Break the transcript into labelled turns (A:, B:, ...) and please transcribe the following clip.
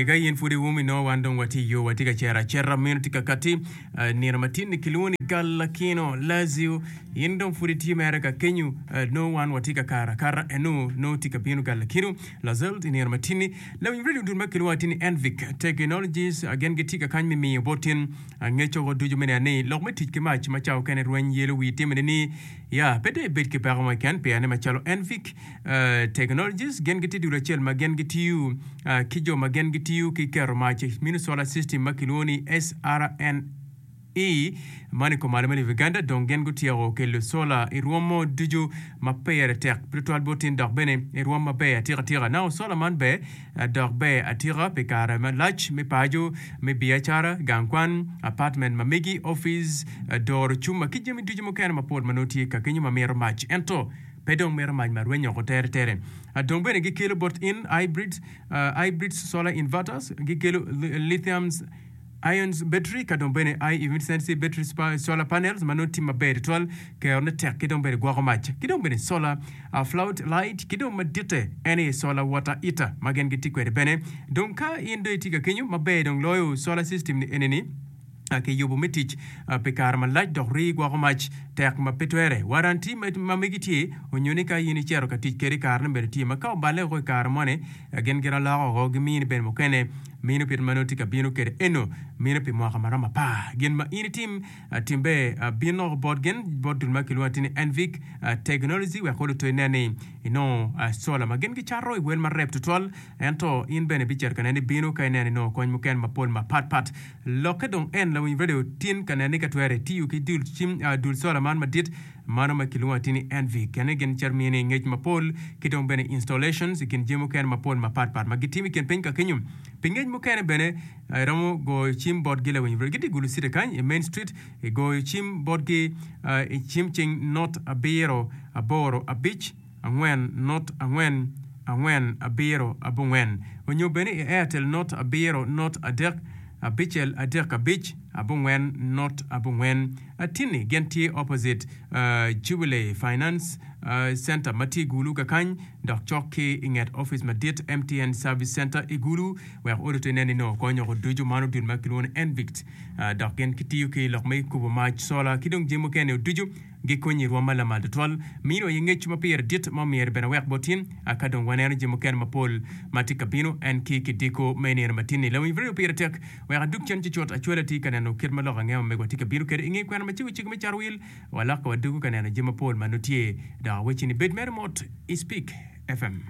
A: Ka in pud iwum inongo wan dong watye i yo, watye ka cito acita, meno tye ka katti nino matin-ni kilwongo ni Galakino Lazio. In dong pud itye mere ka kenyo, nongo wan watye ka kato akata eno, nongo tye ka bino Galakino Lazeld i nino matin-ni. Lawiny redio dul ma kilwongo atir ni Envic Technologies gin gitye ka kany me miyo bot tin ngec woko ducu me neno ni lok me tic ki mac ma cawa okene rweny yelo wii timone ni ya pe dong ibed ki peko mo keken pien ni macalo Envic Technologies gin gitye dul acel ma gin gitiyo ki jo ma gin gitiyo ki keto mac mino solar system ma kilwongo ni SRN I man i kom malo me lobo Uganda dong gin gutyeko kelo sola i rwom mo ducu ma pire tek tutwal bot tin dok bene i rwom maber atika tika. Nao sola man ber dok ber atika pi kare malac me paco, me biacara, gang kwan, apartment ma megi, ofice, doro cuma ki jami ducu mukene mapol ma nongo tye ka kenyo ma mito mac ento pe dong mito mac ma rwenyo oko tere tere. Dong bene gikelo bot in hybrid, hybrid solar inverters, gikelo lithium Ions battery ka dong bene high efficiency battery solar panels ma nongo tye maber tutwal, kerone tek ki dong bene gwoko mac ki dong bene solar flood light ki dong maditte en aye solar water heater ma gin gitye kwede bene. Dong ka in dong itye ka kenyo maber dong loyo solar system ni enini kiyubo me tic pi kare malac dok rii gwoko mac tek ma pe twere. Waranti ma megi tye onyo ni ka in icito ka tic kwede karene bene tye ma ka oballe woko i kare moni Gin ginaloko woko, gimini bene mukene. Mino kit ma nongo tye ka bino kwede eno, mino pi mwaka ma romo apar. Gin ma in itim, tim ber, bin oko bot gin, bot dul ma kilwongo atir ni Envic Technology wek olo to inen ni inongo sola ma gin gicato i wel marep tutwal. Ento in bene ibicito ka nene ibino ka ineno inongo kony mukene mapol mapat pat. Lokke dong en lawiny radio tin ka nene ni ka twere itiyo ki dul cim, dul sola man madit Mano ma kilwongo atir ni Envy kene gin cito mini ngec mapol ki dong bene installations i kin jami mukene mapol mapat pat ma gitimo i kin piny ka kenyo. Pi ngec mukene bene iromo goyo cim botgi lawiny bro. Gitye i Gulu City kany i Main Street i goyo cim botgi i cim cing not abiro aboro abic angwen not angwen angwen abiro abongwen onyo bene i Airtel not abiro not adek abicel adek abic abongwen not abongwen. Atinni gin tye opposite Jubilee Finance Center ma tye i Gulu kakany dok cok ki i nget opic madit MTN Service Center i Gulu wek odi to inen ni nongo kony oko ducu. Man odul ma kilwongo ni Envict dok gin gitiyo ki lok me kubo mac, sola ki dong jami mukene ducu gikonyi i rwom ma lamal tutwal. Mino aye ngec ma pire dit ma omyero bene awek bot in ka dong waneno jami mukene mapol ma tye ka bino en ki kidiko me nino matin-ni. Lawiny Radio pire tek. Wek adug cen cucut, acwali atye ka neno kit ma lok ange ma megwa tye ka bino kwede. I nge kwena macego cego me carowil, walokke wadugo ka neno jami mapol ma nongo tye. Dok awecci ni bed mere mot i Speak FM.